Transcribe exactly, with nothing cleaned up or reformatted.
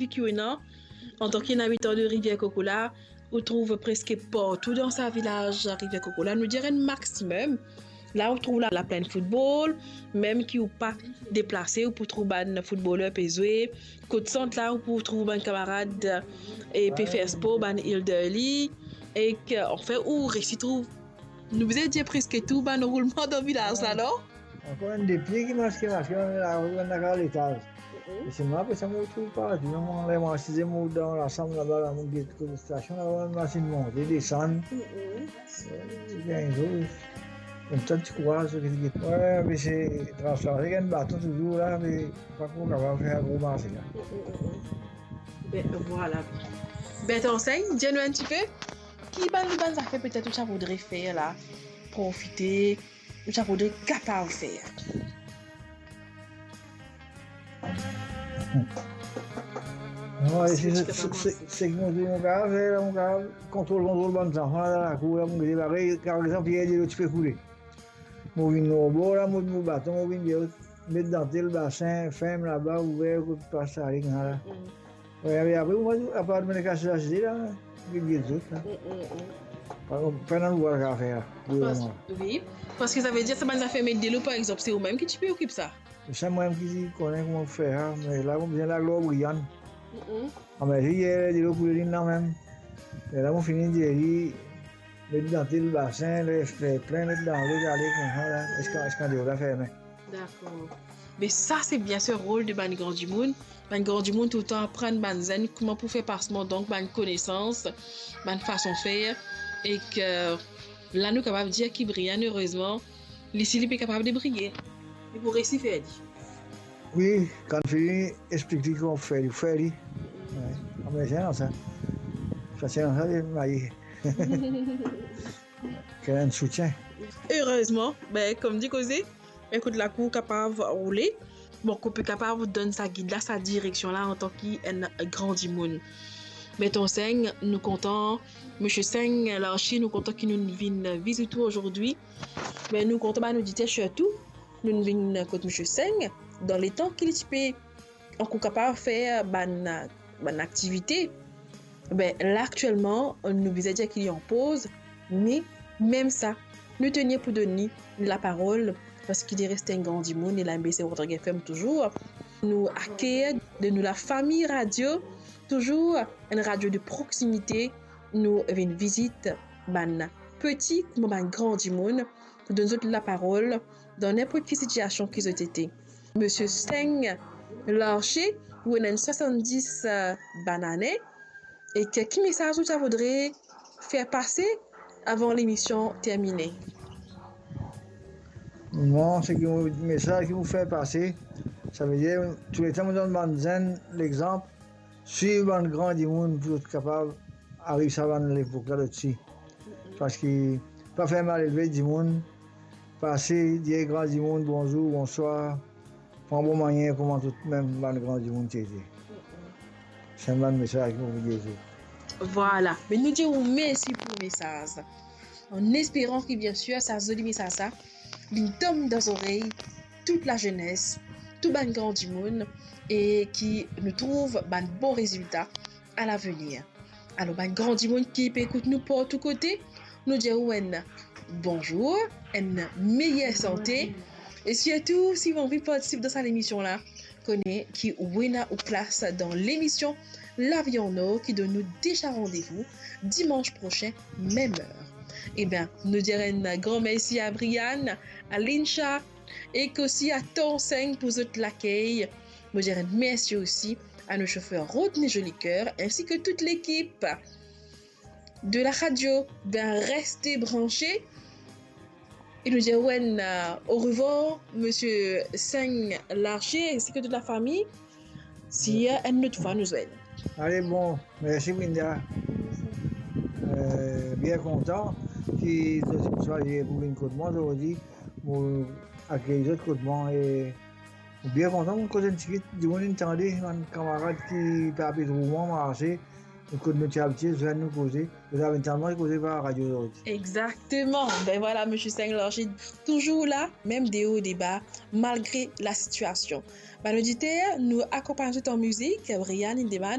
ki ou ena, antan ki enn abitan de Rivière Coco la, ou trouv preske partou dan sa vilaz Rivière Coco la, nou dir enn maximum. La ou trouv la, la plin football, mem ki ou pa deplase, ou pou trouv bann footballer pe zwe. Kot Sant la, ou pou trouv bann kamarad e pe fer spor, bann elderly. Ek, anfin, ou resi trouv, nou bizin dir preske tou bann roulman dan vilaz la, non? Ankor enn de pie ki maske, maske, la, la, la, la, letaz. Mm-mm. E se mwa, apre sa, mo trouv pa, dinon, mo, ler mo asize, mo dan lasam laba, la, mo get kot stasion, la, mo masinn monte, desann. Mm-mm. Eh, gagn zour. Koumsa ti kouraz, so ki ti get. Wi, me se transport, gagn baton touzour la, me pa tro kapav fer gro marse la. Mm, mm, mm, mm. Ben, vwala. Ben, Tonsegn, dir nou enn tipe, ki bann, bann zafer petet ou ti a voudre fer la, profite, ou ti a voudre kapav fer? Non, se, se, se, se, se ki mo dir, mo kapav fer la, mo kapav kontrol, kontrol bann zanfan la, dan lakour la, mo gete parey, par exanp, yer dilo ti pe koule. Mo vinn lor bor la, mo, mo baton, mo vinn dir zot, met dan tel basin, ferm laba, ouver, kot pas ale, koumsa la. Mm. Wi, me apre, mo, apar mo kas lasize la, get zot la. Mm, mm, mm. Pa, pa ena nou vwar kapav fer la, pou lemoman. Wi, parski sa ve dir, sa bann zafer met dilo, par exanp, se ou mem ki ti pe okip sa? Sa mwa mem ki ti kone kouma fer sa, me la, mo bizin al lor Brian. Mm, mm. Ah, me yer, dilo koule, li ena mem. E la, mo fini dir li, met dan tel basin, les fer plin, met dan lot, ale koumsa la, ziska, ziska deor la ferme. Dakor. Me sa, se bien se rol de bann gran dimoun. Bann gran dimoun toultan aprann bann zenn kouma pou fer pasman, donk, bann konesans, bann fason fer, ek la, nou kapav dir ki Brian, erezman, li si li pe kapav debriye. Li pou resi fer li. Wi, kan fini, explik li kouma fer li, fer li. Wi, ame se sa. Sa se sa, li maye. Ki enn soutien. Erezman, ben, kouma dir koze, ekout, lakour kapav roule. Bon, ki ou pe kapav donn sa gid la, sa direksion la, antan ki enn gran dimoun. Me Tonsegn, nou kontan, Misie Seng Larcher, nou kontan ki nou vinn vizit ou azordi. Me nou kontan bann oditer sirtou, nou vinn kot Misie Seng, dan letan ki li ti pe ankor kapav fer bann, bann aktivite. Be, la, aktielman, nou bizin dir ki li an poz, me mem sa, nou tenir pou donn li laparol, parski li res enn gran dimoun, e la, B C Rodrigues F M touzour. Nou akeir de nou lafami radio, touzour enn radio de proksimite, nou vinn vizit bann peti kouma bann gran dimoun, pou donn zot laparol dan ninport ki sitiasion ki zot ete. Misie Seng Larcher, ou ena enn swasanndis, eh, bann ane, e ki, ki mesaz ou ti a voudre fer pase avan lemision termine? Mwa, seki mo, mesaz ki mo fer pase, sa ve dir, touletan mo donn bann zenn lexanp, swiv bann gran dimoun pou zot kapav ariv sa bann lepok la, zot si. Parski pa fer malelve dimoun, pase, dir gran dimoun bonzour, bonswar, pran bon manier kouma tou mem bann gran dimoun ti ete. Se bann mesaz ki mo pou dir zot. Vwala, me nou dir ou mersi pou mesaz. An esperan ki, bien sir, sa zoli mesaz sa, li tom dan zorey tout lazenes, tou bann gran dimoun, e ki nou trouv bann bon rezilta alavenir. Alor, bann gran dimoun ki pe ekout nou partou kote, nou dir ou enn bonzour, enn meyer sante, e sirtou, si ou anvi partisip dan sa lemision la, kone ki ou ena ou plas dan lemision Lavi an Or ki donn nou deza randevou dimans prosin, mem er. Eben, nou dir enn gran mersi a Brian, a Lincha, ek osi a Tonsegn pou zot lakey. Mo dir enn mersi osi a nou sofer Rodney Jolicoeur, ensi ki tout lekip de la radio. Ben, reste branche. E nou dir ou enn, euh, orevwar, Misie Seng Larcher, ensi ki tout lafami. Si, euh, enn lot fwa nou zwenn. Ale, bon, mersi, Winda. Euh, bien kontan ki zot swazir pou vinn kot mwa zordi, pou akeyir zot kot mwa, e bien kontan, mo koz enn tigit, dimoun inn tande, bann kamarad ki pa pe trouv mwa marse, kot nou ti abitie zwenn nou koze, nou ti amenn sa mwa koze par radio zordi. Exactement. Ben voilà, Monsieur Singh Lorgid, toujours là, même des hauts et des bas, malgré la situation. Bann oditer, nou akonpagn zot an mizik, Brian Lindemann,